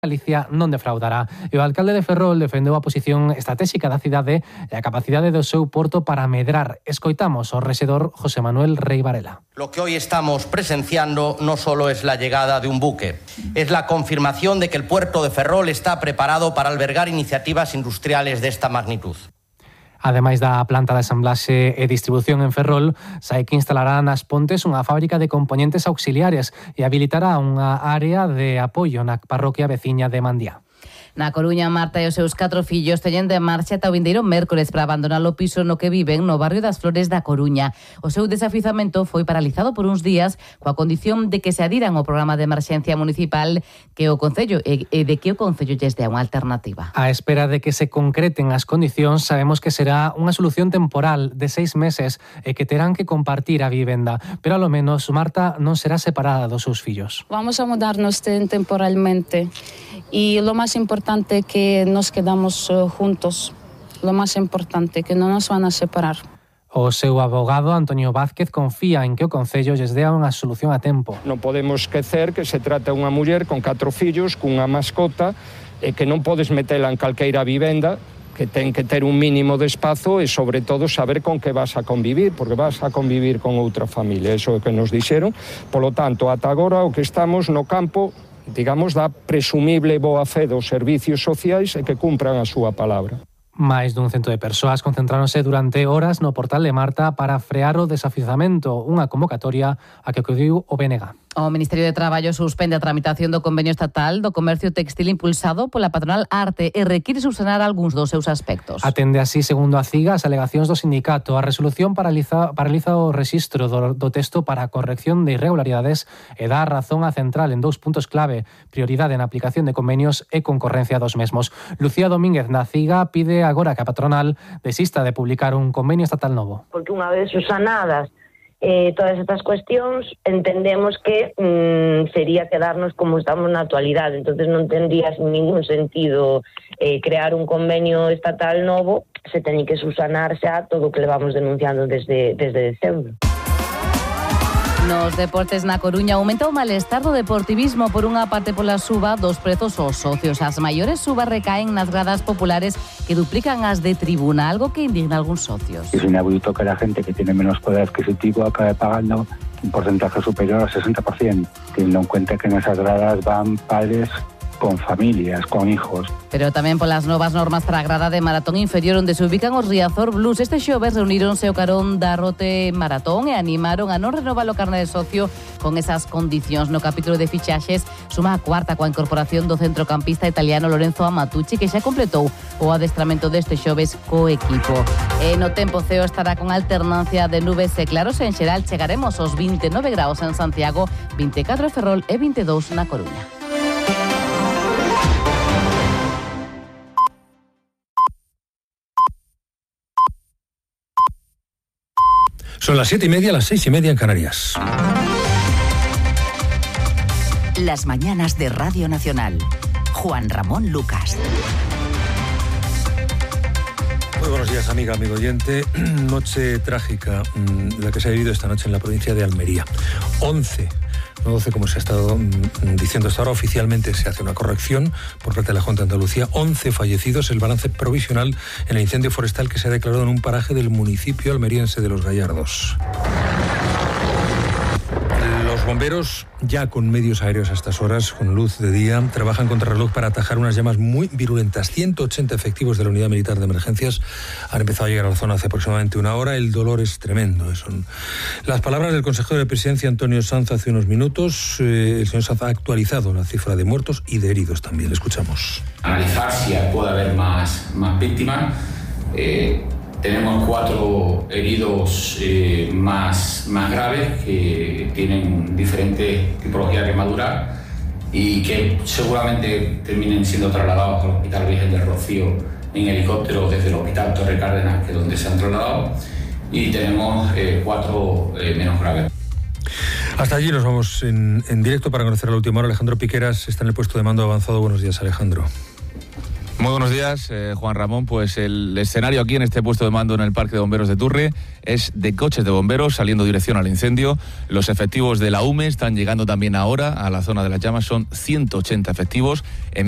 Galicia non defraudará. E o alcalde de Ferrol defendeu a posición estratégica da cidade e a capacidade do seu porto para medrar. Escoitamos ao rexedor José Manuel Rey Varela. Lo que hoy estamos presenciando no solo es la llegada de un buque, es la confirmación de que el puerto de Ferrol está preparado para albergar iniciativas industriales de esta magnitud. Ademais da planta de ensamblaxe e distribución en Ferrol, sai que instalará nas Pontes unha fábrica de componentes auxiliares e habilitará unha área de apoio na parroquia veciña de Mandía. Na Coruña, Marta e os seus 4 fillos teñen de marcha ata o vindeiro mércores para abandonar o piso no que viven no barrio das Flores da Coruña. O seu desafizamento foi paralizado por uns días coa condición de que se adiran ao programa de emerxencia municipal que o Concello e de que o Concello lles dé unha alternativa. A espera de que se concreten as condicións, sabemos que será unha solución temporal de 6 meses e que terán que compartir a vivenda, pero ao menos Marta non será separada dos seus fillos. Vamos a mudarnos temporalmente y lo más importante que nos quedamos juntos, lo más importante que non nos van a separar. O seu abogado, Antonio Vázquez, confía en que o Concello lles dea unha solución a tempo. Non podemos esquecer que se trata unha muller con 4 fillos, cunha mascota, e que non podes metela en calqueira vivenda, que ten que ter un mínimo de espazo e, sobre todo, saber con que vas a convivir, porque vas a convivir con outra familia, eso é o que nos dixeron. Polo tanto, ata agora o que estamos no campo, digamos, da presumible boa fe dos servicios sociais e que cumpran a súa palabra. Máis dun cento de persoas concentráronse durante horas no portal de Marta para frear o desafizamento, unha convocatoria a que acudiu o BNG. O Ministerio de Traballo suspende a tramitación do convenio estatal do comercio textil impulsado pola patronal Arte e require subsanar algúns dos seus aspectos. Atende así, segundo a CIGA, as alegacións do sindicato. A resolución paraliza o rexistro do texto para a corrección de irregularidades e dá razón a central en 2 puntos clave: prioridade na aplicación de convenios e concorrencia dos mesmos. Lucía Domínguez, na CIGA, pide agora que a patronal desista de publicar un convenio estatal novo. Porque unha vez subsanadas todas estas cuestións, entendemos que sería quedarnos como estamos na actualidade. Entonces non tendría ningún sentido crear un convenio estatal novo, se teñe que subsanar xa todo o que levamos denunciando desde decembro. Nos deportes na Coruña aumenta o malestar do deportivismo por unha parte pola suba dos prezos aos socios. As maiores subas recaen nas gradas populares que duplican as de tribuna, algo que indigna a algúns socios. Es inaudito que la gente que tiene menos poder adquisitivo acabe pagando un porcentaje superior al 60%, teniendo en cuenta que en esas gradas van padres con familias, con hijos. Pero tamén polas novas normas para a grada de maratón inferior onde se ubican os Riazor Blues. Este xoves reuníronse o carón da Rote Maratón e animaron a non renovar o carné de socio con esas condicións. No capítulo de fichaxes suma a 4ª coa incorporación do centrocampista italiano Lorenzo Amatucci, que xa completou o adestramento deste xoves co equipo. E no tempo ceo estará con alternancia de nubes e claros. En xeral chegaremos aos 29 graus en Santiago, 24 en Ferrol e 22 na Coruña. Son las 7:30, las 6:30 en Canarias. Las mañanas de Radio Nacional. Juan Ramón Lucas. Muy buenos días, amiga, amigo oyente. Noche trágica la que se ha vivido esta noche en la provincia de Almería. 11, no 12 como se ha estado diciendo hasta ahora. Oficialmente se hace una corrección por parte de la Junta de Andalucía. 11 fallecidos, el balance provisional en el incendio forestal que se ha declarado en un paraje del municipio almeriense de Los Gallardos. Los bomberos, ya con medios aéreos a estas horas, con luz de día, trabajan contra reloj para atajar unas llamas muy virulentas. 180 efectivos de la Unidad Militar de Emergencias han empezado a llegar a la zona hace aproximadamente una hora. El dolor es tremendo. Son las palabras del consejero de Presidencia, Antonio Sanz, hace unos minutos. El señor Sanz ha actualizado la cifra de muertos y de heridos también. Le escuchamos. Analizar si puede haber más víctimas. Tenemos 4 heridos más graves que tienen diferentes tipologías de quemaduras y que seguramente terminen siendo trasladados al Hospital Virgen del Rocío en helicóptero desde el Hospital Torre Cárdenas, que es donde se han trasladado, y tenemos 4 menos graves. Hasta allí nos vamos en directo para conocer a la última hora. Alejandro Piqueras está en el puesto de mando avanzado. Buenos días, Alejandro. Muy buenos días, Juan Ramón. Pues el escenario aquí en este puesto de mando en el Parque de Bomberos de Turre es de coches de bomberos saliendo dirección al incendio. Los efectivos de la UME están llegando también ahora a la zona de las llamas, son 180 efectivos. En